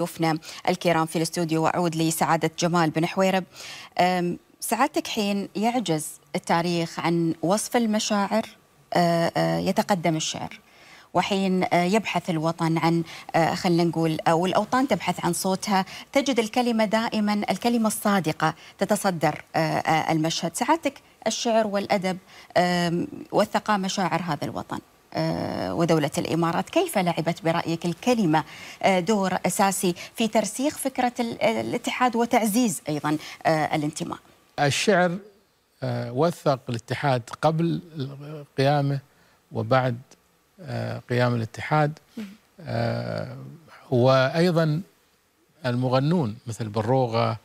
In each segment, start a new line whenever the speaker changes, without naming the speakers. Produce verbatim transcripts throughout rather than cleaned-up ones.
ضيوفنا الكرام في الاستوديو، وأعود لسعادة جمال بن حويرب. سعادتك حين يعجز التاريخ عن وصف المشاعر يتقدم الشعر، وحين يبحث الوطن عن خلينا نقول أو الأوطان تبحث عن صوتها، تجد الكلمة دائما الكلمة الصادقة تتصدر المشهد. سعادتك الشعر والأدب وثقا مشاعر هذا الوطن ودولة الإمارات، كيف لعبت برأيك الكلمة دور أساسي في ترسيخ فكرة الاتحاد وتعزيز أيضا الانتماء؟
الشعر وثق الاتحاد قبل قيامه وبعد قيام الاتحاد، وأيضا المغنون مثل بروغة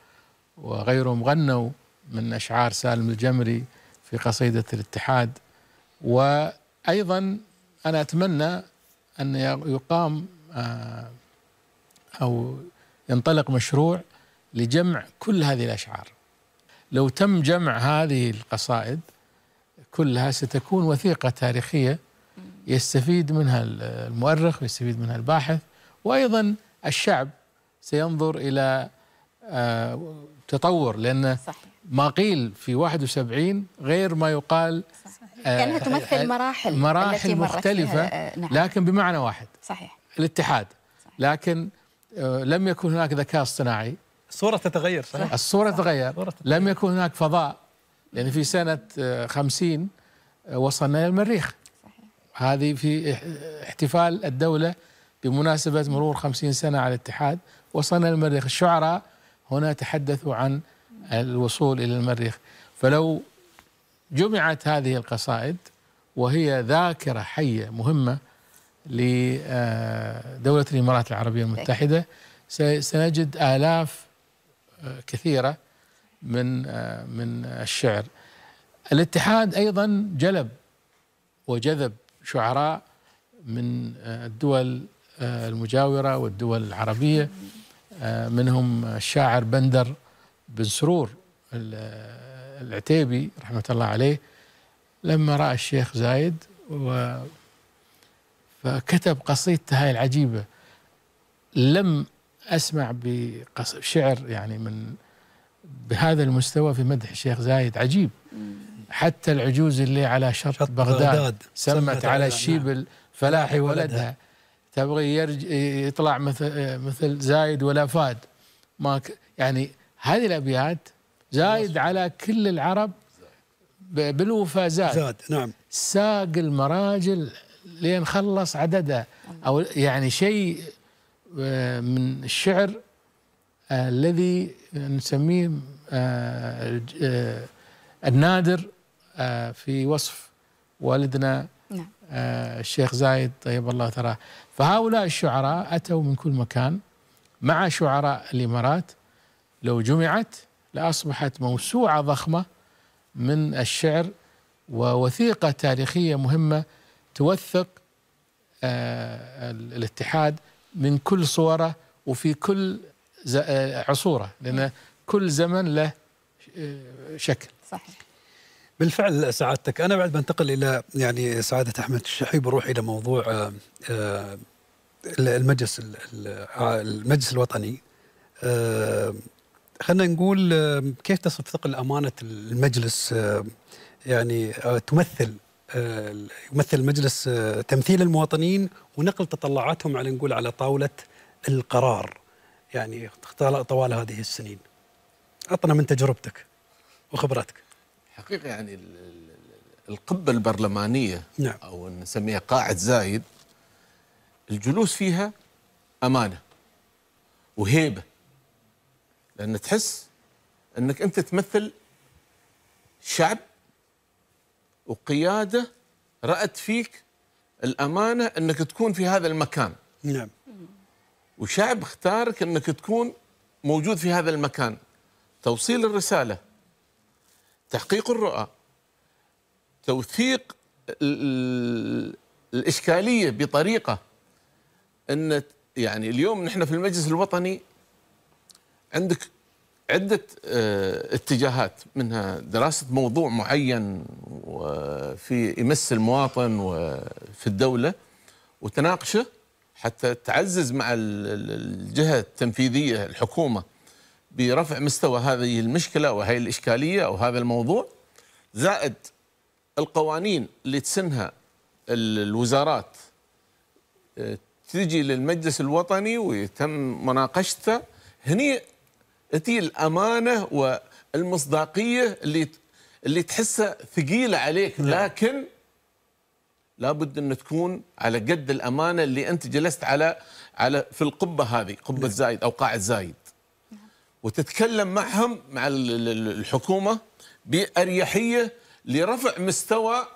وغيرهم غنوا من أشعار سالم الجمري في قصيدة الاتحاد. وأيضا أنا أتمنى أن يقام أو ينطلق مشروع لجمع كل هذه الأشعار. لو تم جمع هذه القصائد كلها ستكون وثيقة تاريخية يستفيد منها المؤرخ ويستفيد منها الباحث، وأيضا الشعب سينظر إلى تطور، لأن ما قيل في واحد وسبعين غير ما يقال.
كأنها تمثل مراحل
مراحل مختلفة نعم. لكن بمعنى واحد
صحيح،
الاتحاد. صحيح. لكن لم يكن هناك ذكاء اصطناعي،
الصورة تتغير. صحيح.
الصورة تتغير. لم يكن هناك فضاء، لأن في سنة خمسين وصلنا إلى المريخ. صحيح. هذه في احتفال الدولة بمناسبة مرور خمسين سنة على الاتحاد، وصلنا إلى المريخ. الشعراء هنا تحدثوا عن الوصول إلى المريخ. فلو جمعت هذه القصائد وهي ذاكرة حية مهمة لدولة الإمارات العربية المتحدة، سنجد آلاف كثيرة من من الشعر. الاتحاد أيضا جلب وجذب شعراء من الدول المجاورة والدول العربية، منهم الشاعر بندر بن سرور العتيبي رحمة الله عليه، لما رأى الشيخ زايد و فكتب قصيدته هاي العجيبة. لم أسمع بشعر يعني من بهذا المستوى في مدح الشيخ زايد، عجيب. حتى العجوز اللي على شط, شط بغداد, بغداد سمت على الشيب الفلاحي ولدها، تبغي يطلع مثل مثل زايد ولا فاد ما ك يعني هذه الأبيات زايد على كل العرب بالوفا زاد,
زاد نعم.
ساق المراجل لين خلص عددها، أو يعني شيء من الشعر الذي نسميه النادر في وصف والدنا الشيخ زايد طيب الله ثراه. فهؤلاء الشعراء أتوا من كل مكان مع شعراء الإمارات، لو جمعت لأصبحت موسوعة ضخمة من الشعر ووثيقة تاريخية مهمة توثق الاتحاد من كل صوره وفي كل عصوره، لأن كل زمن له شكل.
صحيح.
بالفعل سعادتك. أنا بعد بنتقل إلى يعني سعادة أحمد الشحيب، بروح إلى موضوع المجلس المجلس الوطني. خلينا نقول كيف تصف ثقل أمانة المجلس، يعني تمثل يمثل المجلس تمثيل المواطنين ونقل تطلعاتهم على نقول على طاولة القرار يعني طوال هذه السنين. أعطنا من تجربتك وخبرتك.
حقيقة يعني القبة البرلمانية
نعم.
أو نسميها قاعة زايد، الجلوس فيها أمانة وهيبة، لأن تحس أنك أنت تمثل شعب وقيادة رأت فيك الأمانة أنك تكون في هذا المكان.
نعم.
وشعب اختارك أنك تكون موجود في هذا المكان، توصيل الرسالة، تحقيق الرؤى، توثيق الإشكالية بطريقة أن يعني اليوم نحن في المجلس الوطني عندك عدة اتجاهات، منها دراسة موضوع معين وفي يمس المواطن وفي الدولة وتناقشه حتى تعزز مع الجهة التنفيذية الحكومة برفع مستوى هذه المشكلة وهي الإشكالية أو هذا الموضوع، زائد القوانين اللي تسنها الوزارات تجي للمجلس الوطني ويتم مناقشتها، هني تجي الأمانة والمصداقية اللي اللي تحسها ثقيلة عليك، لكن لابد أن تكون على قد الأمانة اللي أنت جلست على على في القبة هذه، قبة زايد أو قاعة زايد، وتتكلم معهم مع الحكومة بأريحية لرفع مستوى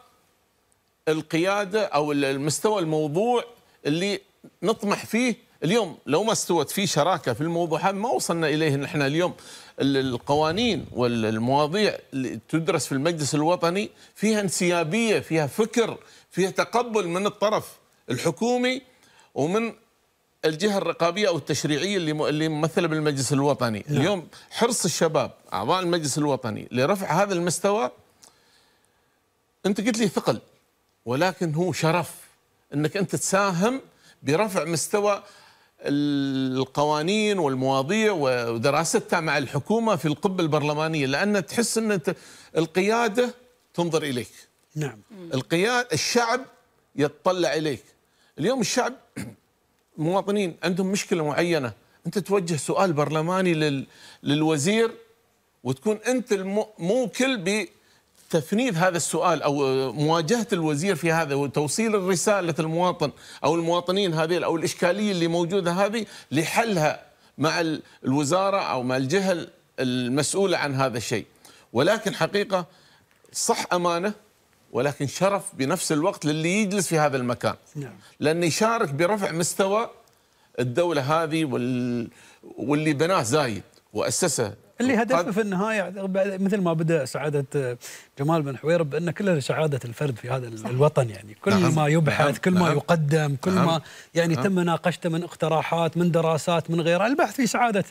القيادة أو المستوى الموضوع اللي نطمح فيه. اليوم لو ما استوت فيه شراكة في الموضوع هذا ما وصلنا إليه نحن اليوم. القوانين والمواضيع اللي تدرس في المجلس الوطني فيها انسيابية، فيها فكر، فيها تقبل من الطرف الحكومي ومن الجهة الرقابية أو التشريعية اللي اللي ممثلة بالمجلس الوطني. لا. اليوم حرص الشباب أعضاء المجلس الوطني لرفع هذا المستوى، أنت قلت لي ثقل، ولكن هو شرف أنك أنت تساهم برفع مستوى القوانين والمواضيع ودراستها مع الحكومة في القبة البرلمانية، لأن تحس أن القيادة تنظر إليك.
نعم.
القيادة الشعب يتطلع إليك. اليوم الشعب المواطنين عندهم مشكلة معينة، أنت توجه سؤال برلماني لل للوزير وتكون أنت الموكل بتفنيد هذا السؤال أو مواجهة الوزير في هذا وتوصيل الرسالة المواطن أو المواطنين هذه أو الإشكالية اللي موجودة هذه لحلها مع الوزارة أو مع الجهة المسؤولة عن هذا الشيء. ولكن حقيقة صح أمانة، ولكن شرف بنفس الوقت للي يجلس في هذا المكان.
نعم.
لأنه يشارك برفع مستوى الدولة هذه وال... واللي بناه زايد وأسسه،
اللي هدفه في النهاية مثل ما بدأ سعادة جمال بن حويرب بأن كل سعادة الفرد في هذا صح. الوطن، يعني كل نعم. ما يبحث نعم. كل ما نعم. يقدم كل نعم. ما يعني نعم. تم مناقشته من اقتراحات من دراسات من غيرها، البحث في سعادة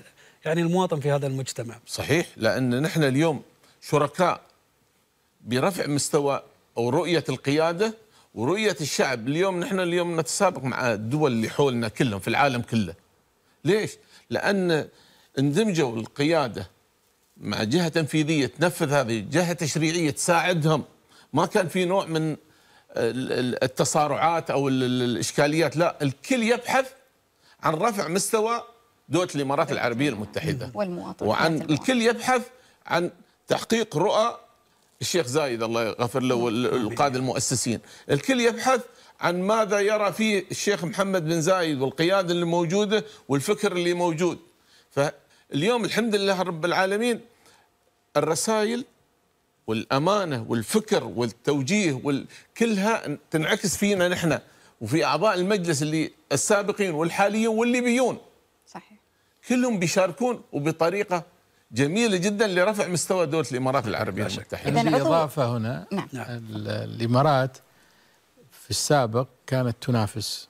يعني المواطن في هذا المجتمع.
صحيح، لأن نحن اليوم شركاء برفع مستوى أو رؤية القيادة ورؤية الشعب. اليوم نحن اليوم نتسابق مع الدول اللي حولنا كلهم في العالم كله. ليش؟ لأن اندمجوا القيادة مع جهة تنفيذية تنفذ هذه، جهة تشريعية تساعدهم، ما كان في نوع من التصارعات أو الإشكاليات، لا، الكل يبحث عن رفع مستوى دولة الإمارات العربية المتحدة، وعن الكل يبحث عن تحقيق رؤى الشيخ زايد الله يغفر له والقادة المؤسسين، الكل يبحث عن ماذا يرى فيه الشيخ محمد بن زايد والقيادة اللي موجودة والفكر اللي موجود. فاليوم الحمد لله رب العالمين الرسائل والأمانة والفكر والتوجيه وكلها تنعكس فينا نحن وفي أعضاء المجلس اللي السابقين والحاليين واللي بيون.
صحيح.
كلهم بيشاركون وبطريقة جميلة جدا لرفع مستوى دولة الإمارات العربية المتحدة.
بالإضافة هنا نعم. الإمارات في السابق كانت تنافس،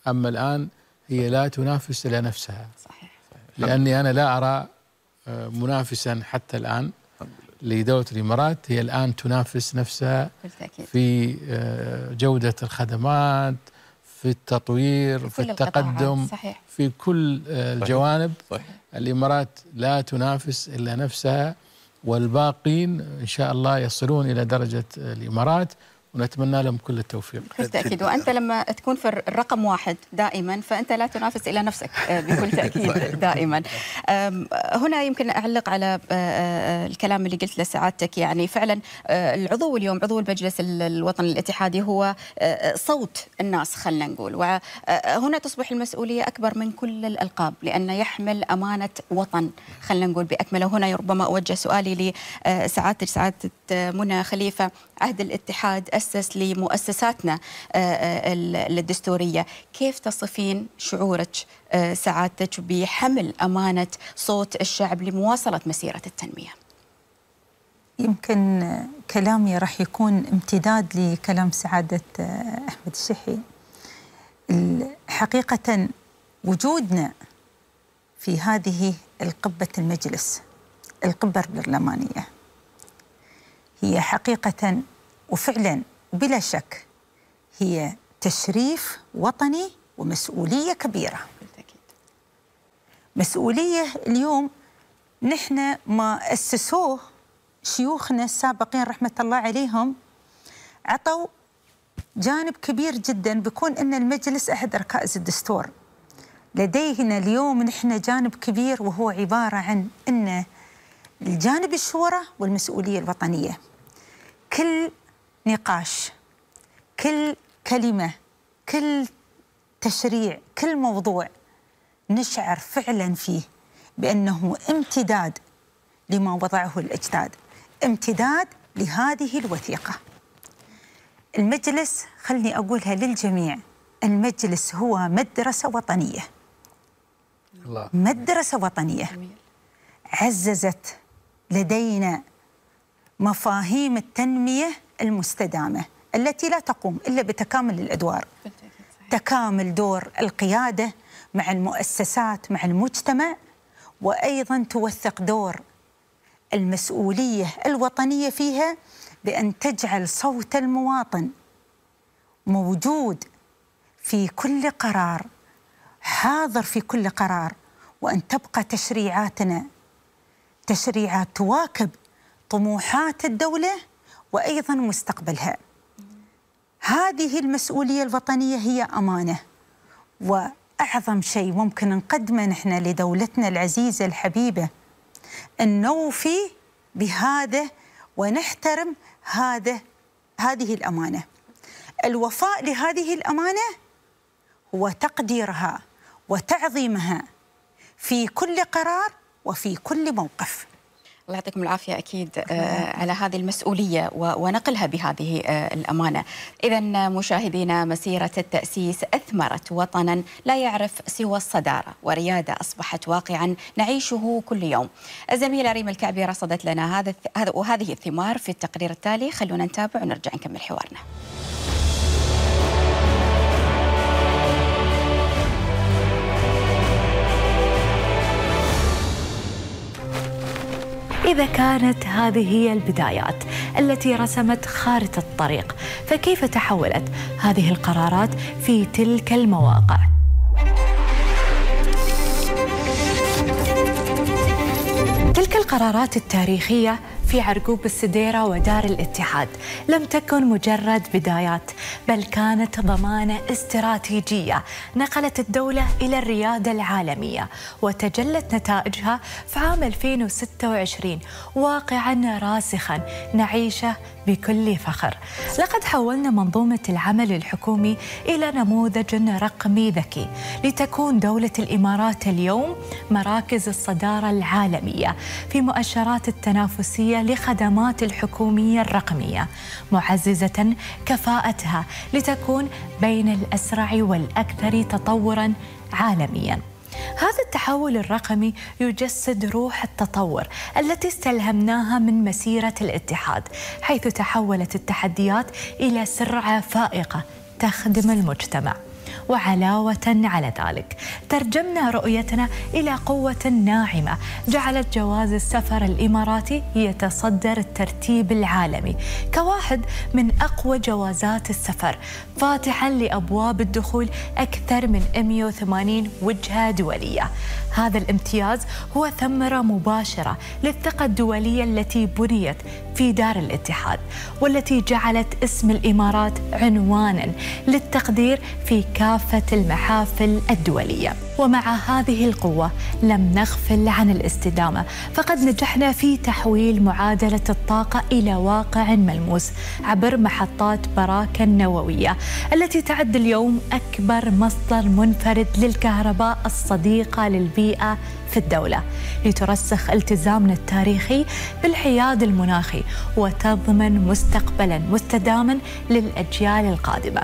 أما الآن هي لا تنافس إلى نفسها.
صحيح.
لأني أنا لا أرى منافسا حتى الآن لدولة الإمارات، هي الآن تنافس نفسها بالتأكيد في جودة الخدمات، في التطوير، في التقدم، صحيح. في كل الجوانب. صحيح. الإمارات لا تنافس إلا نفسها، والباقين إن شاء الله يصلون إلى درجة الإمارات، ونتمنى لهم كل التوفيق.
بالتأكيد، وأنت لما تكون في الرقم واحد دائما فأنت لا تنافس إلى نفسك بكل تأكيد دائما. هنا يمكن أعلق على الكلام اللي قلت لسعادتك، يعني فعلا العضو اليوم عضو المجلس الوطني الاتحادي هو صوت الناس خلنا نقول، وهنا تصبح المسؤولية أكبر من كل الألقاب لأنه يحمل أمانة وطن خلنا نقول بأكمله. هنا ربما أوجه سؤالي لسعادتك سعادة منى خليفة، عهد الاتحاد أسس لمؤسساتنا الدستورية، كيف تصفين شعورك سعادتك بحمل أمانة صوت الشعب لمواصلة مسيرة التنمية؟
يمكن كلامي راح يكون امتداد لكلام سعادة أحمد الشحي. حقيقة وجودنا في هذه القبة المجلس القبة البرلمانية هي حقيقة وفعلا بلا شك هي تشريف وطني ومسؤولية كبيرة. مسؤولية اليوم نحن ما أسسوه شيوخنا السابقين رحمة الله عليهم، عطوا جانب كبير جدا بيكون أن المجلس أحد ركائز الدستور. لدينا اليوم نحن جانب كبير وهو عبارة عن أن الجانب الشورى والمسؤولية الوطنية. كل نقاش، كل كلمة، كل تشريع، كل موضوع نشعر فعلا فيه بأنه امتداد لما وضعه الأجداد، امتداد لهذه الوثيقة. المجلس، خلني أقولها للجميع، المجلس هو مدرسة وطنية. الله. مدرسة وطنية عززت لدينا مفاهيم التنمية المستدامة التي لا تقوم إلا بتكامل الأدوار، تكامل دور القيادة مع المؤسسات مع المجتمع، وأيضا توثق دور المسؤولية الوطنية فيها بأن تجعل صوت المواطن موجود في كل قرار، حاضر في كل قرار، وأن تبقى تشريعاتنا تشريعات تواكب طموحات الدولة وأيضا مستقبلها. هذه المسؤولية الوطنية هي أمانة، وأعظم شيء ممكن نقدمه نحن لدولتنا العزيزة الحبيبة أن نوفي بهذا ونحترم هذا هذه الأمانة. الوفاء لهذه الأمانة هو تقديرها وتعظيمها في كل قرار وفي كل موقف.
الله يعطيكم العافية أكيد على هذه المسؤولية ونقلها بهذه الأمانة. إذن مشاهدينا، مسيرة التأسيس أثمرت وطنا لا يعرف سوى الصدارة وريادة أصبحت واقعا نعيشه كل يوم. الزميلة ريم الكعبي رصدت لنا هذا وهذه الثمار في التقرير التالي. خلونا نتابع ونرجع نكمل حوارنا.
إذا كانت هذه هي البدايات التي رسمت خارطة الطريق، فكيف تحولت هذه القرارات في تلك المواقع؟ تلك القرارات التاريخية في عرقوب السديرة ودار الاتحاد لم تكن مجرد بدايات، بل كانت ضمانة استراتيجية نقلت الدولة إلى الريادة العالمية، وتجلت نتائجها في عام ألفين وستة وعشرين واقعاً راسخاً نعيشه بكل فخر. لقد حولنا منظومة العمل الحكومي إلى نموذج رقمي ذكي، لتكون دولة الإمارات اليوم مراكز الصدارة العالمية في مؤشرات التنافسية لخدمات الحكومية الرقمية، معززة كفاءتها لتكون بين الأسرع والأكثر تطوراً عالمياً. هذا التحول الرقمي يجسد روح التطور التي استلهمناها من مسيرة الاتحاد، حيث تحولت التحديات إلى سرعة فائقة تخدم المجتمع. وعلاوة على ذلك ترجمنا رؤيتنا إلى قوة ناعمة جعلت جواز السفر الإماراتي يتصدر الترتيب العالمي كواحد من أقوى جوازات السفر، فاتحاً لأبواب الدخول أكثر من مئة وثمانين وجهة دولية. هذا الامتياز هو ثمرة مباشرة للثقة الدولية التي بنيت في دار الاتحاد، والتي جعلت اسم الإمارات عنوانا للتقدير في كافة المحافل الدولية. ومع هذه القوة لم نغفل عن الاستدامة، فقد نجحنا في تحويل معادلة الطاقة إلى واقع ملموس عبر محطات براكة النووية التي تعد اليوم أكبر مصدر منفرد للكهرباء الصديقة للبيئة في الدولة، لترسخ التزامنا التاريخي بالحياد المناخي وتضمن مستقبلا مستداما للأجيال القادمة.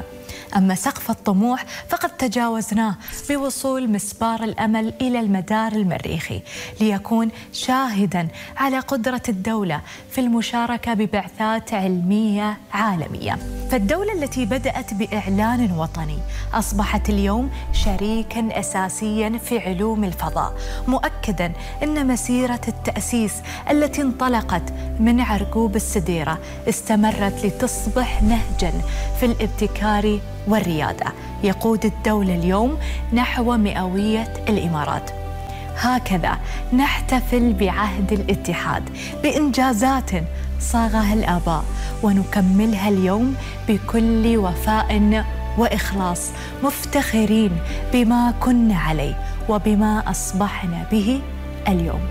أما سقف الطموح فقد تجاوزناه بوصول مسبار الأمل إلى المدار المريخي، ليكون شاهداً على قدرة الدولة في المشاركة ببعثات علمية عالمية. فالدولة التي بدأت بإعلان وطني أصبحت اليوم شريكاً أساسياً في علوم الفضاء، مؤكداً أن مسيرة التأسيس التي انطلقت من عرقوب السديرة استمرت لتصبح نهجاً في الابتكار والريادة. يقود الدولة اليوم نحو مئوية الإمارات. هكذا نحتفل بعهد الاتحاد بإنجازات صاغها الآباء، ونكملها اليوم بكل وفاء وإخلاص، مفتخرين بما كنا عليه وبما أصبحنا به اليوم.